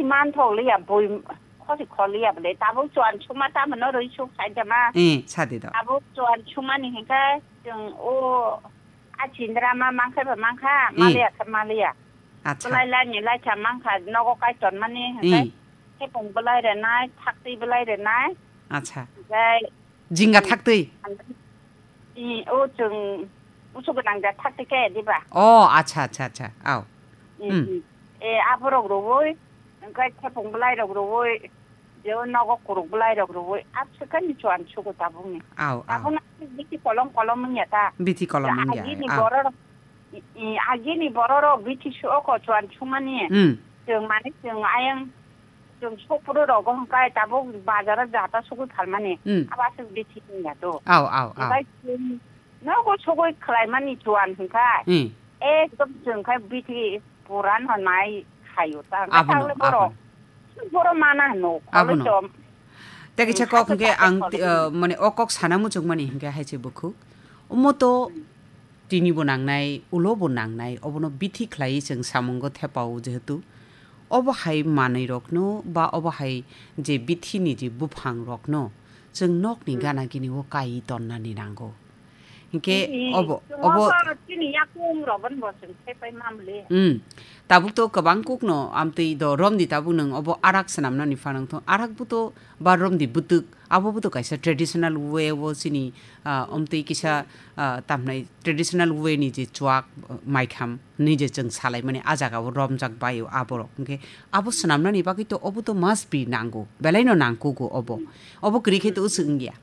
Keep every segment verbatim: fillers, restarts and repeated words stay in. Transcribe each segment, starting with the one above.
Manthok liya, bui khosi khol liya bole. Tabuk chuan chuma tamo no rwi suk sai jama. Eh, sadi do. Tabuk chuan chumani hinkhe chwng o a chindra ma mangkhe ba mangkha, Eh. maliya khe maliya. Acha. Belai laini laitha mangkha, nogo kai tonmani hinkhe. Eh. Khepung belai renai, thaktwi belai renai. Acha. Hinkhe Jinga thaktwi? I, o chwng usu gwnang ja thakti khe diba? Oh, acha, acha, acha. Au. I, Hmm. i. E, aborok rwui, hwnkhe thepung bwlairok rwui, je o nogo kuruk bwlairok rwui, abswkhe ni chuan sugo tabukni. Au, au. Tabukno bithi kolom kolom wngya ta. Bithi kolom wngya, Agini au. Bororok, i, i, agini bororok bithi suko chuan sumani. Hmm. Chwng mani chwng ayang Chwng sopro rogo hwnkhe tabuk bazaro jata sugui phalmani. Hmm. Abo aswk bithi wngya do. Au, au, au. Hwnkhe chwng nogo sugui khlaimani chuan hwnkhe. Hmm. Ekdom chwng khe bithi puran hwnmai khaio ta. Hwnkhe Abono, tagle borok, abono. Borok mana hwno, Abono. Kholo chom. Tei kaisa Hmm, kok hwnkhe sakhe ang sakhe ti-, kholo. uh, mane o kok sana muchungmani hwnkhe hai se bukhuk. Omo to Hmm. tini bo nangnai, ulo bo nangnai, obono bithi khlaiwi chwng samungo thepao jehetu. Obo hai manwi rokno ba obo hai je bithi ni je buphang rokno chwng nokni Hmm. gana gini o kai tonnani nango. Hinkhe Chini, obo, chwng obo obo chini yakung rok bo chwng thepai mamle. Hmm. Tabuk to kwbang kukno amtwi do romdi tabuk nwng obo arak swnamnani phanang thung. Arak bo to ba romdi bwtwk, abo bo to kaisa traditional way o chini, ah, omtwi kisa, ah, tamhnai traditional way ni je chuak, ah, maikham ni je chwng salaimani a jaga o romjak bai o aborok. Hinkhe abo swnamnani bagwi to obo to must be nango, belai no nangkugo obo. Obo kwrwi khe to uswk wngya.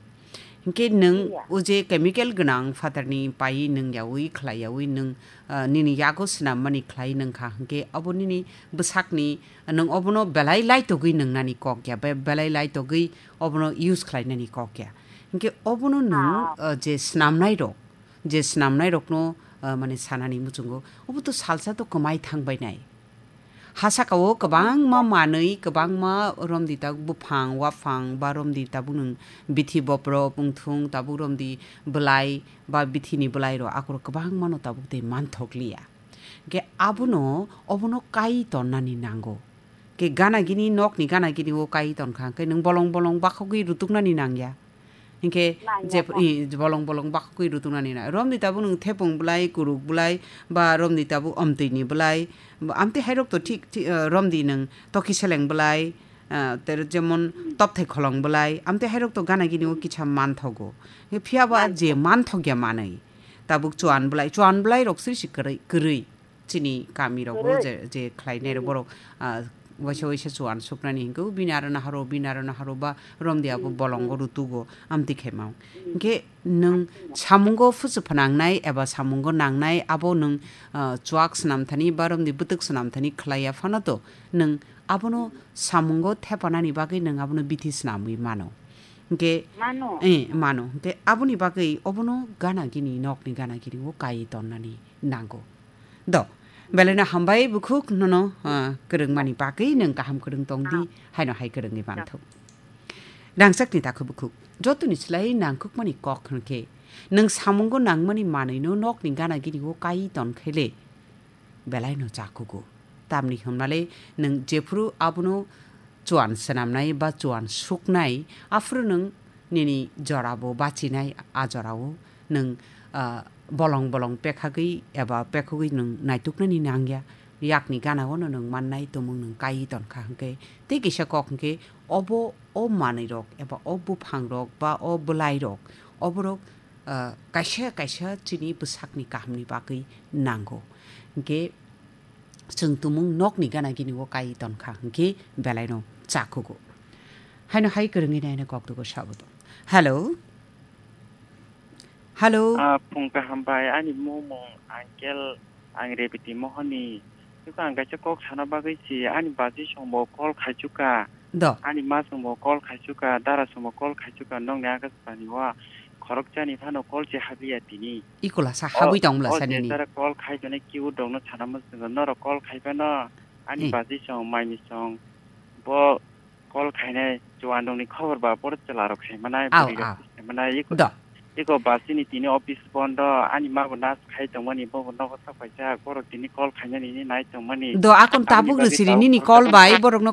Hinkhe nwng Iya. o je chemical gwnang phatarni paiwi nwng yaui khlai yaui nwng, ah, nini yago swnammani khlai nwng kha. Hinkhe abo nini bwsakni nwng obono belai laitogwi nwngnani kok ya, be-, belai laitogwi obono use khlainani kok ya. Hinkhe obono nwng, Ah. ah, je swnamnai rok, je swnamnai rokno, ah, mane sanani muchungo, obo to salsa to kwmai thangbai nai. Ha saka o kwbangma manwi, kwbangma romdi tabuk buphang, waphang, ba romdi tabuk nwng bithi boprok, wngthung, tabuk romdi bwlai, ba bithini bwlai rok akorok kwbangma no tabuk tei manthok liya. Hinkhe abono, obono kai tonnani nango. Ke gana gini, nokni gana gini o kai tonkha, hinkhe nwng bolong bolong bakhogwi rutuknani nangya. Hinkhe Nangya jep-, ta. i, bolong bolong bakhogwi rutuknani na. Romdi tabuk nwng thepung bwlai, kuruk bwlai, ba romdi tabuk omtwini bwlai. Amtwi hairok to thik, thik, eh, romdi nwng toki seleng bwlai, eh, ter jemon topthai kholong bwlai. Amtwi hairok to gana gini o kisa manthogo. Phiya ba je Manthogo. Manthokya manwi. Tabuk chuan bwlai, chuan bwlai rok sri si kwrwi, kwrwi. Chini kami rok bo Kwrwi. je, je khlainai rok Hmm. borok, ah, waisa waisa chuan suknani hinkhe bini aro naharo, bini aro naharo ba romdi abo Hmm. bolongo Hmm. rutugo amtwi khe mao. Hmm. Hinkhe nwng Amtwi no. samungo phusu phnangnai eba samungo nangnai abo nwng, ah, chuak swnam thani ba romdi bwtwk swnam thani khlaiya phano to nwng abono samungo thepanani bagwi nwng abono bithi swnamwi mano. Hinkhe, Mano. eh, mano. Hinkhe aboni bagwi obono gana gini, nokni gana gini o kai tonnani nango. Do, belai no hambai bukhuk nono, ah, kwrwngmani bagwi nwng kaham kwrwng tong di, Ah. haino hai kwrwngwi Ah. manthok. Rangchakni takhu bukhuk, jotoni slai nangkukmani kok hwnkhe, nwng samungo nangmani manwino nokni gana gini o kai tonkhe le, belai no chakugo. Tamni hwnmale nwng jephuru abono chuan swnamnai ba chuan suknai, aphuru nwng nini jorabo bachinai, a jorao nwng, ah, bolong bolong pekhagwi eba pekhogwi nwng naituknani nangya. Yakni ganao no nwng mannai tumung nwng kai tonkha hwnkhe, tei kisa kok hwnkhe obo o manwirok eba o buphangrok ba o bwlairok oborok, ah, kaisa kaisa chini bwsakni kahamni bagwi nango. Hwnkhe chwng tumung nokni gana gini o kai tonkha hwnkhe belaino chakugo. Haino hai kwrwngwi naina kok dugo sabo tong. Hello? Hello? Ah, phung kaham bai, ani mung mung Uncle, ang Rebiti Mohoni. Tiko ang kaisa kok sana bagwi si, ani baji songbo call khaichuka. Do. Ani ma songbo call khaichuka, dara songbo call khaichuka, nokni Akashbani o khorokchani phano call se habliya tini. Ikola sa O, habwi tong bwla o sa nini. Jesara call khai tonwi keyboard rokno sana muchungo, norok call khai phano ani Hmm. baji song, maini song, bo call khainai chuan rokni khobor ba boro chwla rok sai manai, Au, bwrwi rok au. Sai manai, iko, Do. iko basini tini office bondo, ani ma bo nas khai tongmani, bo bo nogo sak paisa, borok tini call khainani ni nai tongmani. Do, akon Aboni tabuk bagwi rwsiri tabuk nini call bai, borokno